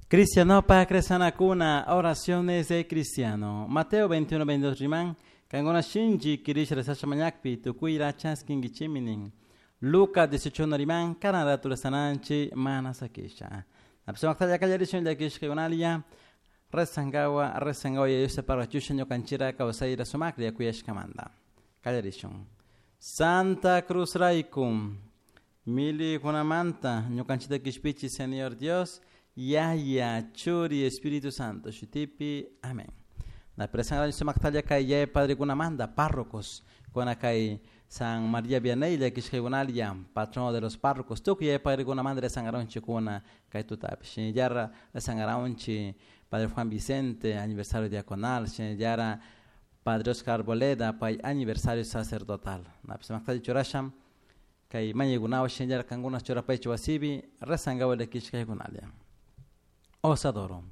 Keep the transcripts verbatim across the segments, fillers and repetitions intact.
Cristianopak rezanakuna, oraciones de cristiano. Mateo veintiuno, veintidós riman, kankuna shinchi kirisha rezasha mañakpi, tukuyra chaskinkichimi nin. Lucas dieciocho riman, karan ratu rezananchi mana sakisha. Napsumaktalla kallarishun llakishkaykunalia, rezangawa, rezangawa Yaya parachusha ñukanchira kawsayra sumaklla kuyashkamanta. Kallarishun. Santa Cruz raykum, milikunamanta ñukanchita kishpichi Señor Dios, Yaya, Churi, Espíritu Santo, shutipi, amén. Na presanga sumaktalla kay yaya padre kunamanta, párrocos, kuna kay San María Vianney, llakishkaykunalia, patrono de los párrocos, tukuy yaya padre kunamanta rezangaronchi kuna kay tutapi. Shinallara rezangaronchi Padre Juan Vicente, aniversario diaconal, shinallara Padre Oscar Arboleda, pay aniversario sacerdotal. Na sumaktalla churasham, kay mañaykunawan shinallara kankuna churapaychi wasipi, rezangawa llakishkaykunalia. Os adoro.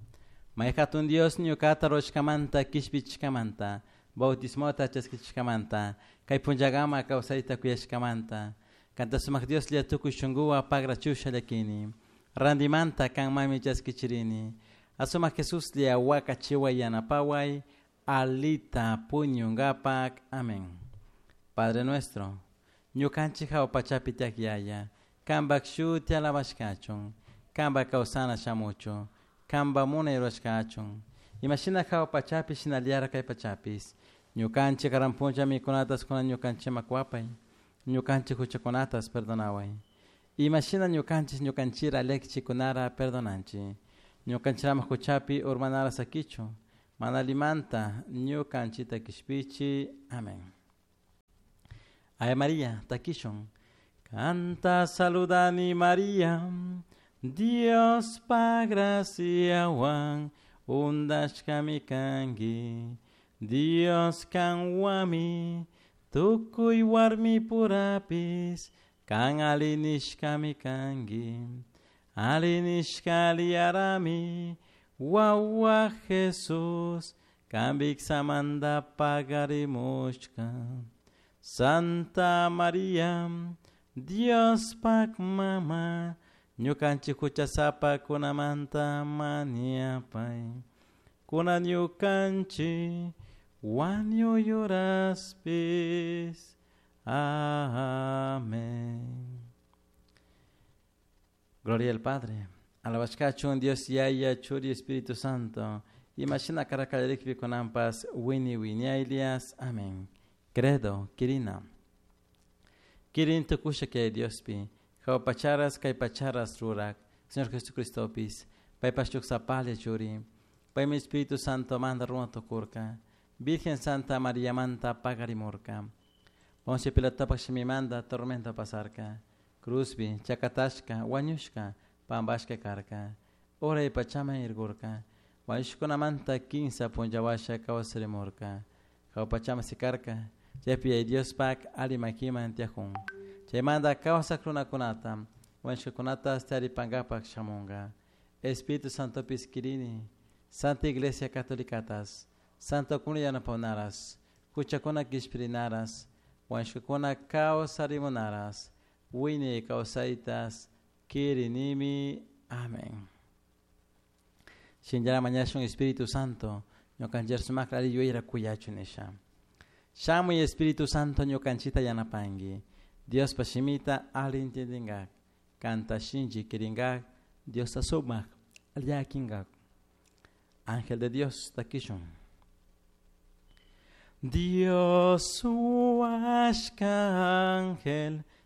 May hatun Dios ñukata rurashkamanta, kishpichishkamanta, bautismota chaskichishkamanta, kay punllakama kawsayta kuyashkamanta, kanta sumak Dioslla tukuy shunkuwan pagrachusha llakini, randimanta kanmami chaskichirini, asumak Jesuslla wakachiway yanapaway, alita puñungapak. Amén. Padre nuestro, ñukanchik hawa pachapi tiyak Yaya, kanpak shuti alabashkachun, kanpak kawsana shamuchun, kanpak munay rurashkachun, imashina hawa pachapi shinallara kay pachapis, ñukanchik karan punlla mikunatas kunan ñukanchikman kuwapay, ñukanchik huchakunatas perdonaway, imashina ñukanchik ñukanchira llakichikunara perdonanchik, ñukanchirama huchapi urmanara sakichu, mana allimanta ñukanchita kishpichi. Amén. Ave María, takishun. Kanta saludani María, Dios pa graciawan undashkami kanki, Dios kanwami tukuy warmi purapis, kan alli nishkami kanki, alli nishka aliyarami, wawa Jesús, kan viksamanta pagarimushka. Santa María, Dios pak mama, ñukanchik huchasapa kunamanta mañapay, kunan ñukanchik wañuy horaspis. Amén. Gloria al Padre. Alabashkachun Dios Yaya, Churi, Espíritu Santo. Imashina karakallarikpi kunanpas wini wiñaylias. Amén. Credo, Kirina. Kirin tukusha kay Diospi. Hawa pacharas kay pacharas rurak. Señor Jesucristopis. Paypash sapalla churi. Paymi Espíritu Santo manda runa tukurka. Virgen Santa María manta pagarimurka. Poncio Pilatopak shimimanta tormento pasarka. Cruzbi, chakatashka, wañushka, pambashka karka. Uray pachaman irgurka. Wañushkunamanta kinsa punllawasha kawsarimurka. Hawa pachaman sikarka. Chaypi Yaya Diospak alli makiman tiyajun. Chaymanta kawsak runakunata, wañushkakunata taripankapak shamunka. Espíritu Santopis kirini, Santa Iglesia Catolicatas, Santo kuna yanapawnaras, huchakuna kishpirinaras, wañushkakuna kawsarimunaras, wiñay kawsaytas kirinimi. Amén. Shinallara mañashun Espíritu Santo, ñukanchik sumakta alli yuyayra kuyachun nisha. Shamuy Espíritu Santo ñukanchita yanapanki, Diospa shimita alli intindingak, kanta shinchi kiringak, Diosta sumak llakinkak. Ángel de Dios, takishun. Dios huashka ángel,